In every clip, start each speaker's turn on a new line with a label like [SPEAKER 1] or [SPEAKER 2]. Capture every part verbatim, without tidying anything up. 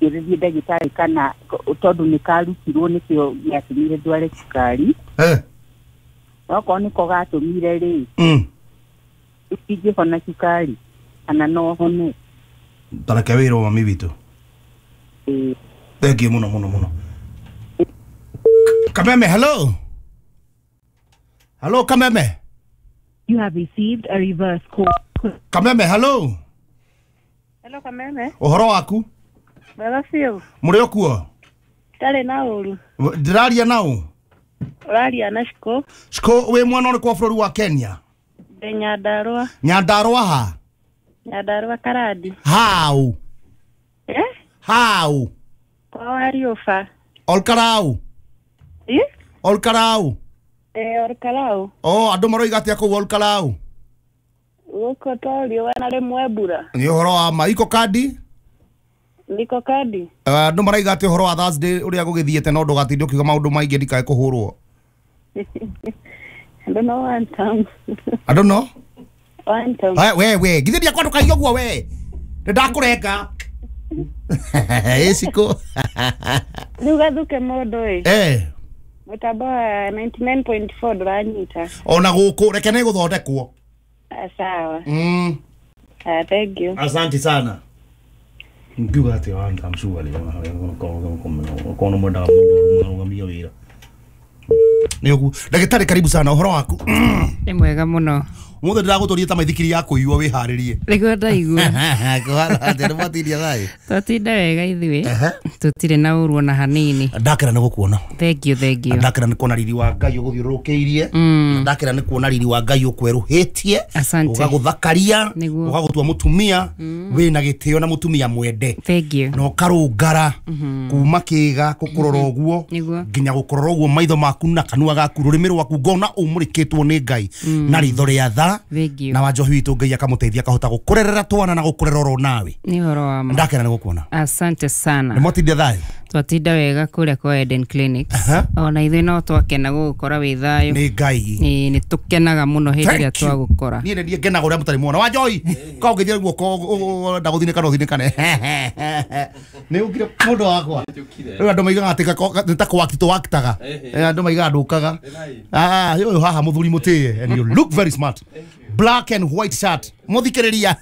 [SPEAKER 1] Ngĩũrĩrie ndagĩtarĩ kana tondũ nĩ karutirwo nĩkĩo gĩatũmire ndware cukari.
[SPEAKER 2] Eh.
[SPEAKER 1] Okorwo nĩko gatũmire rĩ,
[SPEAKER 2] Mm.
[SPEAKER 1] ingĩhona cukari kana no hone?
[SPEAKER 2] Tareke wĩrwo mami witũ.
[SPEAKER 1] Ĩĩ.
[SPEAKER 2] Thank you muno muno muno. Kameme, hello. Hello Kameme.
[SPEAKER 3] You have received a reverse call.
[SPEAKER 2] Kameme, hello.
[SPEAKER 4] Hello Kameme.
[SPEAKER 2] Ũhoro waku?
[SPEAKER 4] Wega biũ.
[SPEAKER 2] Mũrĩ o kuo?
[SPEAKER 4] Ndarĩ na ũru.
[SPEAKER 2] Ndĩraria nao?
[SPEAKER 4] Ũraria na Shiko.
[SPEAKER 2] Shiko, wĩ mwana ũrĩkũ wa bũrũri wa Kenya?
[SPEAKER 4] Ndĩ Nyandarũa.
[SPEAKER 2] Nyandarũa ha?
[SPEAKER 4] Nyandarũa Karandi.
[SPEAKER 2] Hau?
[SPEAKER 4] Eh?
[SPEAKER 2] Hau?
[SPEAKER 4] Kwa Wariũba.
[SPEAKER 2] Olkarau?
[SPEAKER 4] Eh?
[SPEAKER 2] Olkarau?
[SPEAKER 4] Eh, Olkarau.
[SPEAKER 2] Oh, andũ maroiga atĩa kũu Olkarau?
[SPEAKER 4] Gũkũ to riũa na rĩmwe mbura.
[SPEAKER 2] Nĩ ũhoro wa ma. Iko kandi?
[SPEAKER 4] Niko kandi.
[SPEAKER 2] Andũ maraiga atĩa ũhoro wa Thursday ũrĩa gũgĩthiĩte, no ndũgatinde ũkiuga maũndũ maingĩ ndikae kũhũrwo.
[SPEAKER 4] I don't know one time.
[SPEAKER 2] I don't know.
[SPEAKER 4] One time.
[SPEAKER 2] We we we, githĩ ndiakwa ndũkaigue ũguo we. Nĩndakũrenga. Ĩ Shiko.
[SPEAKER 4] Rĩu gathuke mũndũ ĩ.
[SPEAKER 2] Eh.
[SPEAKER 4] Mũtambo wa ninety-nine point four ndũranyita.
[SPEAKER 2] Ona gũkũ reke nĩ gũthondekwo.
[SPEAKER 4] Sawa.
[SPEAKER 2] Mm.
[SPEAKER 4] Uh, thank you.
[SPEAKER 2] Asante sana. Ngiuga atĩ wa I'm sure rĩ kono mwendaga mũndũ arũgamia wĩra. Nĩ ũguo. Ndagĩtarĩ, karibu sana, ũhoro waku?
[SPEAKER 5] Nĩ mwega mũno.
[SPEAKER 2] Ũmũthĩ ndĩragũtũria ta maithikiri ya kũiywo wĩharĩrie.
[SPEAKER 5] Nĩguo ndaigua.
[SPEAKER 2] Kũhana atĩa, nĩ mwatindia thayũ?
[SPEAKER 5] Twatinda wega ithuĩ. Tũtirĩ na ũru ona hanini.
[SPEAKER 2] Ndakena nĩ gũkuona.
[SPEAKER 5] Thank you, thank you.
[SPEAKER 2] Ndakena nĩ kuona riri wa Ngai ũgũthiũrũrũkĩirie. Ndakena nĩ kuona riri wa Ngai ũkwerũhĩtie.
[SPEAKER 5] Asante.
[SPEAKER 2] Ũgagũthakaria, ũgagũtua mũtumia wĩna gĩtĩo na mũtumia mwende.
[SPEAKER 5] Thank you.
[SPEAKER 2] Na ũkarũngara kuma kĩga gũkũrora ũguo nginya gũkũrora ũguo maitho maku na kanua gaku rũrĩmĩ rwaku ngona ũmũrĩkĩtwo nĩ Ngai na ritho rĩa tha. Na wa njohi witũ Ngai akamũteithia akahota gũkũrerera twana na gũkũrera oro nawe.
[SPEAKER 5] Nĩ ũhoro wa ma.
[SPEAKER 2] Ndakena nĩ gũkuona.
[SPEAKER 5] Asante sana.
[SPEAKER 2] Nĩ mwatinda thayũ?
[SPEAKER 5] Twatinda wega kũrĩa kwa Eden Clinics. Ona ithuĩ no twakena gũgũkora wĩ thayũ.
[SPEAKER 2] Nĩ Ngai.
[SPEAKER 5] Ĩĩ, nĩ tũkenaga mũno hĩndĩ ĩrĩa twagũkora.
[SPEAKER 2] Niĩ nĩ ngenaga ũrĩa mũtarĩ muona. Wa njohi, ka ũngĩthiĩ guoko ũrenda gũthinĩka no ũthinĩkane. Nĩ ũkire mũndũ wakwa. Rĩu andũ maigaga atĩ nĩ ta kũwakti tũwaktaga. Andũ maigaga ndũkaga. Ah, ũyũ haha mũthuri mũtĩe and you look very smart. Black and white shirt. Muthikiriria.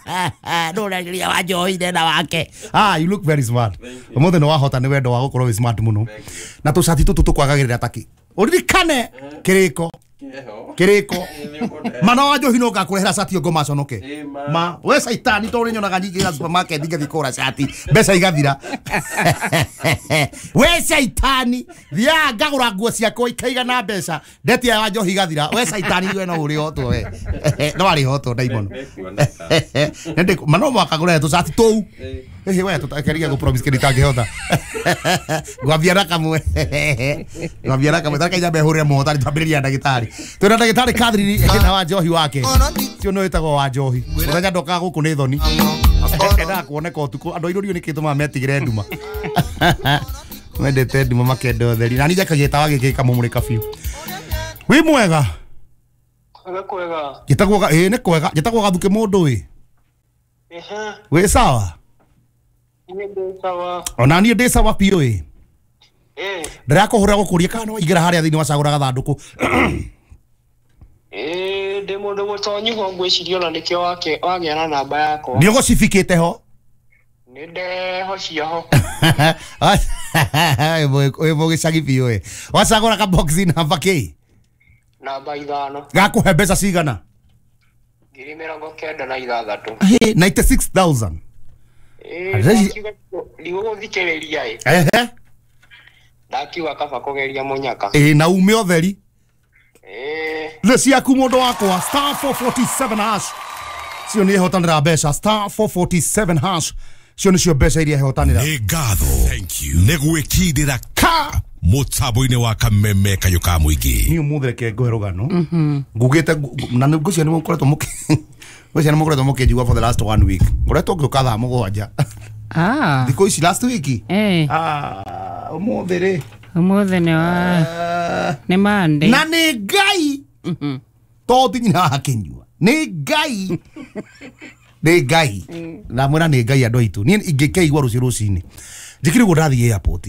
[SPEAKER 2] Ndũragĩria wa njohi ndena wake. Ah, you look very smart. Ũmũthĩ nĩ wahota nĩ wendo wa gũkorwo wĩ smart mũno. Na tũcati tũtũ tũkwagagĩrĩra taki. Ũririkane kĩrĩko. Kĩrĩko. Mana wa njohi no ngakũrehera cati ũngũ maconoke. Ma, we caitani tondũ nyonaga nyingĩ ga supermarket ngathiĩ kũgũra cati. Mbeca igathira. We caitani, thiaga ngagũra nguo ciakwa ikaigana mbeca. Ndetia wa njohi igathira. We caitani we no ũrĩhotwo we. No arĩhotwo ndaimono. Nende mana mwaka ngũrehe tũcati tũu. Ĩhĩ we tũtakeria gũ promise kĩndũ itangĩhota. Ngwambia na kamwe. Ngwambia na kamwe. Tareke nyambe hũrĩre mũhotani twambĩrĩria ndagĩtarĩ. Twĩna ndagĩtarĩ Catherine na wa njohi wake. Ũcio nĩ wĩtagwo wa njohi. Mũthenya ndokaga gũkũ nĩ thoni. Endaga kuoneka ũtukũ. Andũ airũ nĩ kĩtũmaga metigĩre nduma. Mendete nduma makenda ũtheri. Na niĩ njakagia tawa gĩkĩ gĩkamũmũrĩka biũ. Wĩ mwega?
[SPEAKER 6] Kwega kwega.
[SPEAKER 2] Njĩtagwo ĩĩ nĩ kwega. Njĩtagwo Gathuke mũndũ ĩ.
[SPEAKER 6] Ehe.
[SPEAKER 2] Wĩ sawa?
[SPEAKER 6] Niĩ ndĩ sawa.
[SPEAKER 2] Ona niĩ ndĩ sawa biũ ĩ.
[SPEAKER 6] Eh.
[SPEAKER 2] Ndĩrakũhũrĩra gũkũria kana no waingĩra harĩa thĩinĩ wacagũra gathandũkũ.
[SPEAKER 6] Ĩĩ ndĩ mũndũ mũtonyu ho ngwĩciria ona nĩkĩo wake wagĩa na namba yakwa.
[SPEAKER 2] Nĩ ũgũcifikĩte ho?
[SPEAKER 6] Nĩ ndehocia ho.
[SPEAKER 2] Wĩ mũgĩcagi biũ ĩ. Wacagũra ka box namba kĩ?
[SPEAKER 6] Namba ithano.
[SPEAKER 2] Gakũhe mbeca cigana?
[SPEAKER 6] Ngiri mĩrongo kenda na ithathatũ.
[SPEAKER 2] Hĩ, ninety-six thousand.
[SPEAKER 6] Ĩĩ, ndigũgũthikĩrĩria ĩ.
[SPEAKER 2] Ehe.
[SPEAKER 6] Ndakiuga kaba kũgeria mũnyaka.
[SPEAKER 2] Ĩĩ, na ume ũtheri.
[SPEAKER 6] Ĩĩ.
[SPEAKER 2] Nĩ ciaku mũndũ wakwa. Star four forty-seven hash. Cio nĩ ihotanĩra mbeca. Star four forty-seven hash. Cio nĩcio mbeca iria ihotanĩra.
[SPEAKER 7] Nĩ ngatho. Thank you. Nĩ gwĩkindĩra ka mũtambo-inĩ wa Kameme kayũ ka mũingĩ.
[SPEAKER 2] Niĩ ũmũthĩ reke ngũhe rũgano. Ngugĩte na ngwĩciria nĩ mũkoretwo mũkĩ ngwĩciria nĩ mũkoretwo mũkĩnjigua for the last one week. Ngoretwo ngĩũka thaa mũgwanja.
[SPEAKER 5] Ah.
[SPEAKER 2] Thikũ ici last week.
[SPEAKER 5] Eh.
[SPEAKER 2] Ah, ũmũthĩ rĩ.
[SPEAKER 5] Ũmũthĩ nĩ wa nĩ Monday.
[SPEAKER 2] Na nĩ Ngai. Tondũ nyina akĩnyua. Nĩ Ngai. Nĩ Ngai. Na mwĩra nĩ Ngai andũ aitũ. Niĩ ingĩkĩigua rũciũ rũcinĩ. Njĩkire ũguo ndathiĩ airport.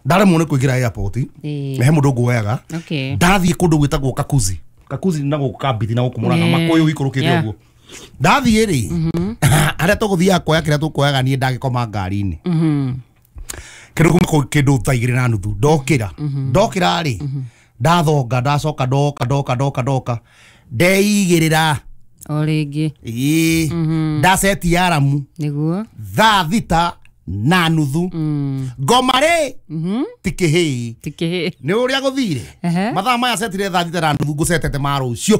[SPEAKER 2] Ndaremwo nĩ kũingĩra airport.
[SPEAKER 5] Ĩĩ.
[SPEAKER 2] He mũndũ nguoyaga.
[SPEAKER 5] Okay.
[SPEAKER 2] Ndathiĩ kũndũ gwĩtagwo Kakuzi. Kakuzi na gũkũ Kambithi na gũkũ Murang'a
[SPEAKER 5] Yeah.
[SPEAKER 2] Makũyũ ikũrũkĩte
[SPEAKER 5] Yeah.
[SPEAKER 2] ũguo. Ndathiĩ rĩ, harĩa tũgũthiaga kuoya kĩrĩa tũkuoyaga niĩ ndagĩkoma ngari-inĩ.
[SPEAKER 5] Mhm.
[SPEAKER 2] Kĩndũ kuma kũ- kĩndũ thaa igĩrĩ na nuthu ndokĩra. Ndokĩra rĩ, ndathonga ndacoka ndoka ndoka ndoka ndoka ndeigĩrĩra.
[SPEAKER 5] O rĩngĩ.
[SPEAKER 2] Ĩĩ. Ndaceti aramu
[SPEAKER 5] Nĩguo.
[SPEAKER 2] thaa thita na nuthu. Ngoma rĩ ti kĩhĩĩ.
[SPEAKER 5] Ti kĩhĩĩ.
[SPEAKER 2] Nĩ ũrĩa gũthire.
[SPEAKER 5] Ehe.
[SPEAKER 2] Mathaa maya cetire thaa thita na nuthu ngũcetete ma rũciũ.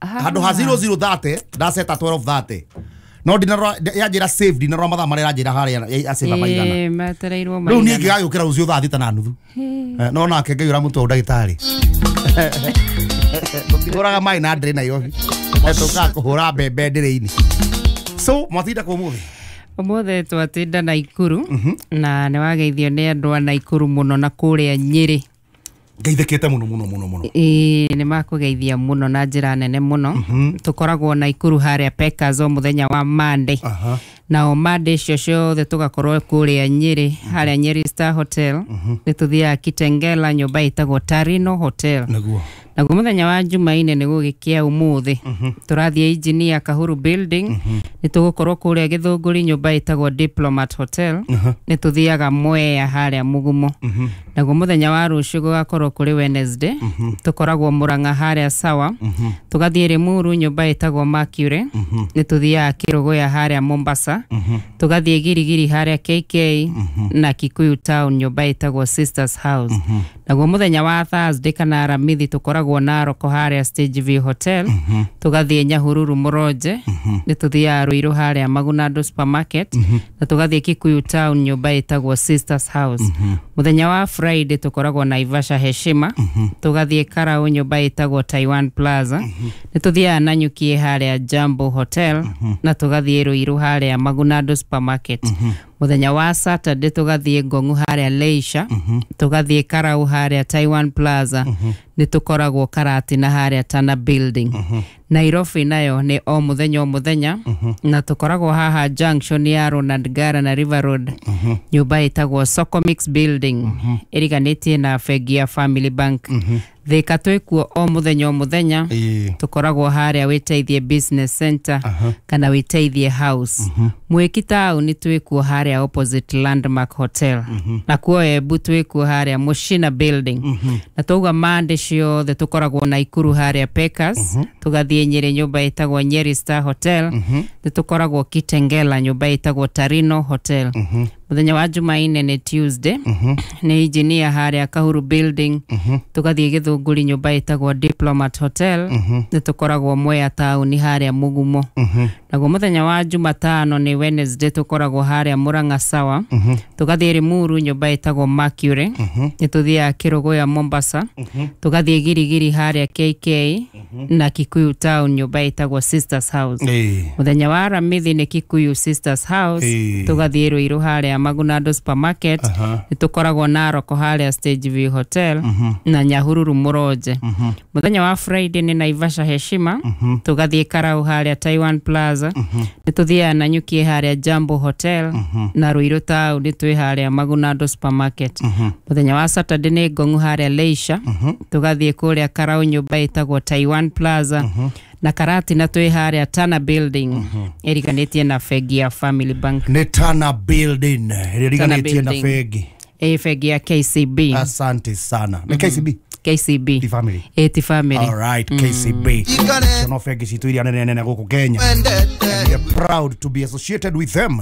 [SPEAKER 2] Handũ ha zero zero thirty ndaceta twelve thirty. No ndinarora yanjĩra save ndinarora mathaa marĩa ĩranjĩra harĩa ya save maigana.
[SPEAKER 5] Ĩĩ, metereirwo
[SPEAKER 2] Rĩu niĩ
[SPEAKER 5] maigana.
[SPEAKER 2] ngĩgagĩũkĩra rũciũ thaa thita na nuthu. Eh, no nake Ngai ũramũtua ndagĩtarĩ. Tũtigũraga maĩ na ndĩrĩ Nairobi. Eh, tũkaga kũhũra mbembe ndĩrĩ-inĩ. So mwatinda kũ ũmũthĩ?
[SPEAKER 5] Ũmũthĩ twatinda Naikuru na nĩ wageithio nĩ andũ a Naikuru mũno na kũrĩa Nyĩrĩ.
[SPEAKER 2] Ngeithĩkĩte mũno mũno mũno mũno.
[SPEAKER 5] Ĩĩ, nĩ makũgeithia mũno na njĩra nene mũno. Tũkoragwo Naikuru harĩa Pekas o mũthenya wa Monday.
[SPEAKER 2] Aha.
[SPEAKER 5] Na o Monday icio ciothe tũgakorwo kũrĩa Nyĩrĩ harĩa Nyeri Star Hotel. Nĩ tũthiaga Kitengela nyũmba ĩtagwo Tarino Hotel.
[SPEAKER 2] Nĩguo.
[SPEAKER 5] Naguo mũthenya wa Jumaine nĩ gũgĩkĩa ũmũthĩ. Tũrathiĩ Engineer Kahuru Building. Nĩ tũgũkorwo kũrĩa Gĩthũngũri nyũmba ĩtagwo Diplomat Hotel. Nĩ tũthiaga Mwea harĩa Mũgumo. Naguo mũthenya wa rũciũ gũgakorwo kũrĩ Wednesday. Tũkoragwo Murang'a harĩa Sawa. Tũgathiĩ Limuru nyũmba ĩtagwo Mercury. Nĩ tũthiaga Kĩrũgũya harĩa Mombasa. Tũgathiĩ Girigiri harĩa K K na Kikuyu Town nyũmba ĩtagwo Sisters House. Naguo mũthenya wa Thursday kana Aramithi tũkoragwo Naroko harĩa Stage View Hotel. Tũgathiĩ Nyahururu Mũronje. Nĩ tũthiaga Ruiru harĩa Magunando Supermarket. Na tũgathiĩ Kikuyu Town nyũmba ĩtagwo Sisters House. Mũthenya wa Friday tũkoragwo Naivasha Heshima. Tũgathiĩ Karau nyũmba ĩtagwo Taiwan Plaza. Nĩ tũthiaga Nanyuki harĩa Jambo Hotel. Na tũgathiĩ Ruiru harĩa Magunando Supermarket. Mũthenya wa Saturday tũgathiĩ Ngong'u harĩa Leisure. Tũgathiĩ Karau harĩa Taiwan Plaza. Nĩ tũkoragwo Karatina harĩa Tana Building. Nairobi nayo nĩ o mũthenya o mũthenya. Na tũkoragwo haha junction ya Ronald Ngara na River Road. Nyũmba ĩtagwo Socomix Building. Ĩriganĩtie na bengi ya Family Bank. Thika twĩkuo o mũthenya o mũthenya.
[SPEAKER 2] Ĩĩ.
[SPEAKER 5] Tũkoragwo harĩa Wĩteithie Business Center kana Wĩteithie House. Mwĩki taũni twĩkuo harĩa opposite Landmark Hotel. Na kuo Embu twĩkuo harĩa Mushina Building. Na twauga Monday ciothe tũkoragwo Naikuru harĩa Pekas. Tũgathiĩ Nyĩrĩ nyũmba ĩtagwo Nyeri Star Hotel. Nĩ tũkoragwo Kitengela nyũmba ĩtagwo Tarino Hotel. Mũthenya wa Jumaine nĩ Tuesday. Nĩ engineer harĩa Kahuru Building. Tũgathiĩ Gĩthũngũri nyũmba ĩtagwo Diplomat Hotel. Nĩ tũkoragwo Mwea taũni harĩa Mũgumo. Naguo mũthenya wa Jumatano nĩ Wednesday tũkoragwo harĩa Murang'a Sawa. Tũgathiĩ Limuru nyũmba ĩtagwo Mercury. Nĩ tũthiaga Kĩrũgũya Mombasa. Tũgathiĩ Girigiri harĩa K K na Kikuyu Town nyũmba ĩtagwo Sisters House.
[SPEAKER 2] Ĩĩ.
[SPEAKER 5] Mũthenya wa Aramithi nĩ Kikuyu Sisters House.
[SPEAKER 2] Ĩĩ.
[SPEAKER 5] Tũgathiĩ Ruiru harĩa Magunando Supermarket. Nĩ tũkoragwo Naroko harĩa Stage View Hotel na Nyahururu Mũronje. Mũthenya wa Friday nĩ Naivasha Heshima. Tũgathiĩ Karau harĩa Taiwan Plaza. Nĩ tũthiaga Nanyuki harĩa Jambo Hotel na Ruiru Town twĩ harĩa Magunando Supermarket. Mũthenya wa Saturday nĩ Ngong'u harĩa Leisure. Tũgathiĩ kũrĩa Karau nyũmba ĩtagwo Taiwan Plaza. Na Karatina twĩ harĩa Tana Building. Ĩriganĩtie na bengi ya Family Bank.
[SPEAKER 2] Nĩ Tana Building ĩrĩa ĩriganĩtie na
[SPEAKER 5] Building.
[SPEAKER 2] bengi.
[SPEAKER 5] Ĩ bengi ya K C B.
[SPEAKER 2] Asante sana. Nĩ K C B?
[SPEAKER 5] K C B.
[SPEAKER 2] Ti family.
[SPEAKER 5] Ĩ ti family.
[SPEAKER 2] All right, K C B. Cio no bengi citũ iria nene nene gũkũ Kenya. And we are proud to be associated with them.